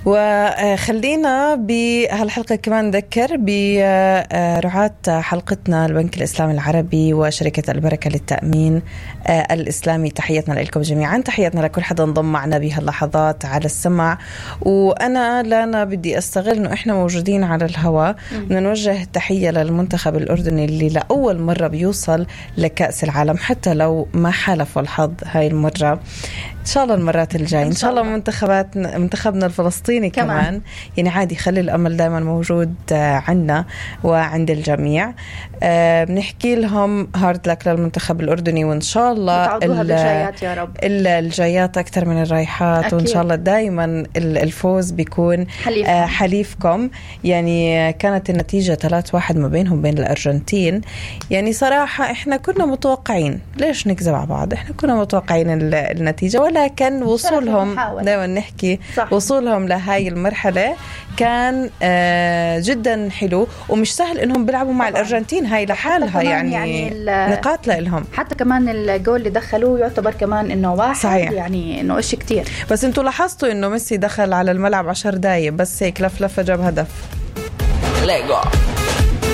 وخلينا بهالحلقة كمان نذكر برعاة حلقتنا البنك الإسلامي العربي وشركة البركة للتأمين الإسلامي. تحياتنا لكم جميعا، تحياتنا لكل حدا انضم معنا بهاللحظات على السمع. وأنا لانا بدي أستغل إنه إحنا موجودين على الهواء ونوجه تحية للمنتخب الأردني اللي لأول مرة بيوصل لكأس العالم، حتى لو ما حالف الحظ هاي المرة. إن شاء الله المرات الجاي إن شاء الله منتخبنا الفلسطيني كمان يعني عادي، خلي الأمل دائما موجود عنا وعند الجميع. بنحكي لهم هارد لك للمنتخب الأردني، وإن شاء الله بالجايات يا رب، الجايات أكتر من الرايحات أكيد. وإن شاء الله دائما الفوز بيكون حليفكم. يعني كانت النتيجة 3-1 ما بينهم بين الأرجنتين. يعني صراحة إحنا كنا متوقعين، ليش نكذب على بعض، إحنا كنا متوقعين النتيجة، ولكن وصولهم دائما نحكي صح. وصولهم لهاي المرحلة كان جدا حلو، ومش سهل إنهم بيلعبوا مع الأرجنتين هاي لحالها يعني نقاط لهم. حتى كمان الجول اللي دخلوه يعتبر كمان إنه واحد صحيح. يعني إنه إشي كتير. بس انتوا لاحظتوا إنه ميسي دخل على الملعب 10 دقايق بس هيك لفلفة جاب هدف. ليجو